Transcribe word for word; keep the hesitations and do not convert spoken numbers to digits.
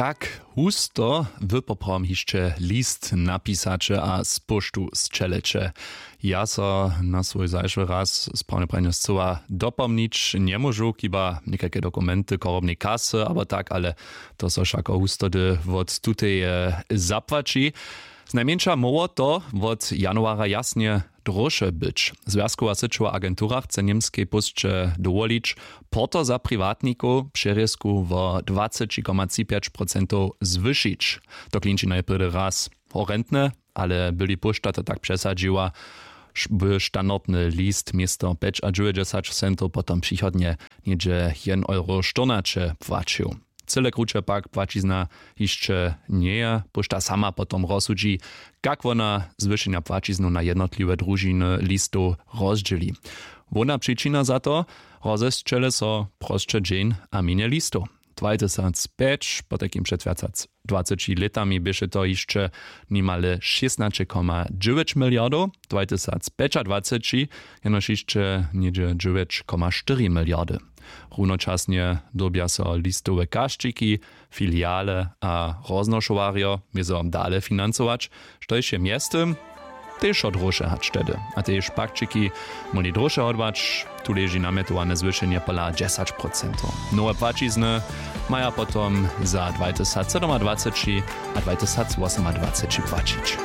Tak husto wy poprawom hišće list napisaće a z poštu sćeleće. Ja so na swój zašły raz sprawne pranje scyła dopomnić njemóžu, chiba někajke dokumenty chorobnej kasy abo tak, ale to so wšako hustody wot tuteje zapłaći. Znajmjeńša móhło to wot januara jasnje dróše być. Zwjazkowa syćowa agentura chce němskej pósće dowolić porto za priwatnikow přerězku wo dwaceći koma tři pjeć procentow zwyšić. To klinči najprjedy raz horentne, ale byli póšta to tak přesadźiła, by standardny list město pjećadźewjećdźesać centow potom přichodnje něhdźe jedyn euro štyrnaće płaćił. Cyle kruće pak płaćizna hišće njeje, póšta sama potom rozsudźi, kak wona zwyšenja płaćiznu na jednotliwe družiny listow rozdźěli. Hłowna přičina za to: rozesćele so prosće dźeń a mjenje listow. Dwatysacpjeć, potajkim před wjac hač dwaceći lětami běše to hišće nimale šěsnaće koma dźewjeć miliardow, dwatysacpjećadwaceći jenož hišće něhdźe dźewjeć koma štyri miliardy. Runočasnje dyrbja so listowe kašćiki, filiale a roznošowarjo wězo dale financować, štož je mjeztym tež wot dróše hač tehdy. A tež pakćiki móhli dróše hodłać. Tu leži namjetowane zwyšenje pola dźesać procentow. Nowe płaćizny maja potom za dwatysacsydomadwaceći a dwatysacwosomadwaceći płaćić.